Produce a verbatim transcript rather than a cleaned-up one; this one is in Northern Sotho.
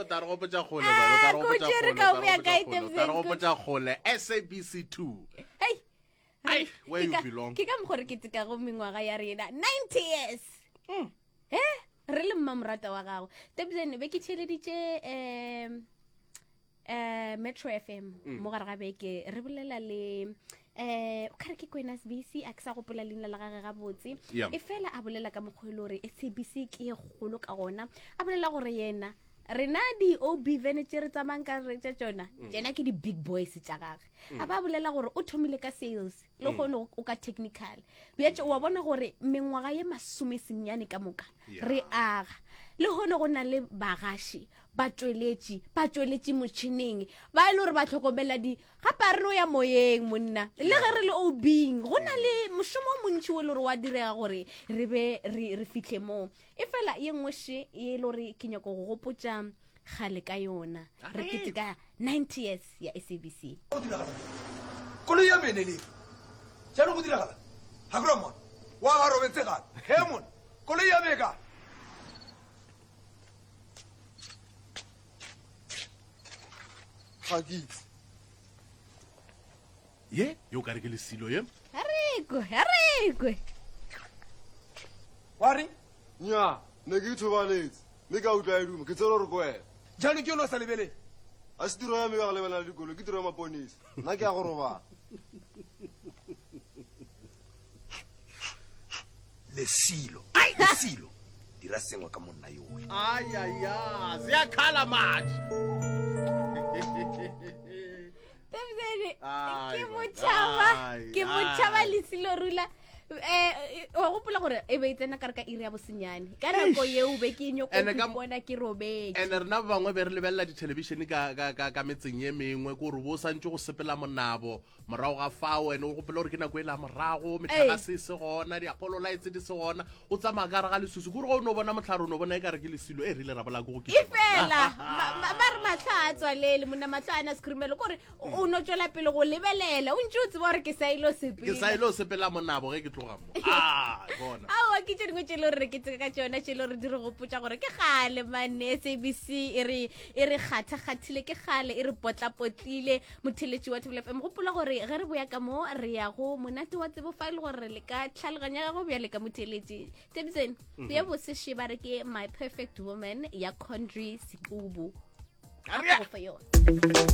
o tla re gopotša kgole Ah, bana, o tla re ko gopotša tšere kgole, ka o tla re boya gopotša kae, kgole, o tla re Tebsen? gopotša kgole SABC two Hei, Ai, where ke you ka- belong. ke ka mokgwa re ketekago mengwaga ya rena ninety years Mm. e re le mmamorata wa gago tebsen be ke theeleditše um um Metro F M Mm. mo gare ga beke re bolela le um o kare ke Kwena S B C, a ke sa gopola leina la gage gabotse. Yeah. E fela a bolela ka mokgwa e le gore S A B C ke e kgolo ka gona, a bolela gore yena rena di-O B van tše re tsamayng ka re tša tšona, tsena ke di-big boys tša gage. A ba bolela gore o thomile ka sales, le kgone o ka technical bjatše wa bona gore mengwaga ye masome senyane ka moka Yeah. re aga le gone go na le bagaši batšweletši ba tšweletše motšhineng ba e le gore ba tlhokomela di gape a re no ya moyeng monna le ge re le obing go na le mošomo o montšhi o e le gore wa direga gore re be re re fitlhe moo. E fela ye nngwe še ye e le gore ke nyako go gopotša kgale ka yona, re keteka ninety years ya S A B C. Go diragala koloi ya mene le jaanong go diragala ga kura mona wa ba robetse gape he mona koloi ya me ka Ga ke itse. Ye yo ka re ke lesilo ye. Arekwe, arekwe. Wa reng? Nya ne ke ithobaletse mme ka utlwa e duma, ke tsere gore ko wena. Jaanong ke yone o sa lebelele. A se tiro ya me ya go lebelela le dikoloi, ke tiro ya maponisa. Nna ke ya go robala. Lesilo, lesilo, dira sengwe ka monna yoe. Ayaya, ziyakhala manje. Tebsene, Ai, ke man. motšhaba Ai, ke motšhaba ai. lesilo rula um wa gopola gore e be e tsena ka re ka iri ya bosenyane ka nako yeo be ke nyoko Ene ka- bona ke robetse. Ene rena ba bangwe be re lebelela dithelebišene ka, ka, ka, ka metseng ye mengwe, ke gore bo santse go sepela monabo morago ga fao. Ene o gopola gore ke nako e la morago metlakase e se gona, diapolo lights di se gona, o tsamaya ka gare ga lesusu, ke gore ge o no bona motlhare o no bona e ka re ke lesilo e rile ra bola ke go E fela ma- ma- ba re matlho a tswalele monna, matlho a na sekhurumelo, kore o no tswela pele go lebelela o ntse o tseba gore ke sa ile Ke sa sepela. ile o sepela monabo ge ke tloga mo a bona. Aowa, ke tše dingwe tše e le gore re keteka ka tšona, tše e le gore di re gopotša gore ke gale mane S A B C e re e re kgatha-kgathile, ke gale e re potlapotlile. Motheletši wa Thobela F M, gopola gore ge re boya ka mo re ya go monate wa tsebo fa e le gore re le ka tlhaloganya gago bjale ka motheletši Tebsen ye boseshe ba re ke My Perfect Woman ya Condry Sekubu. Aria. Go fa yona.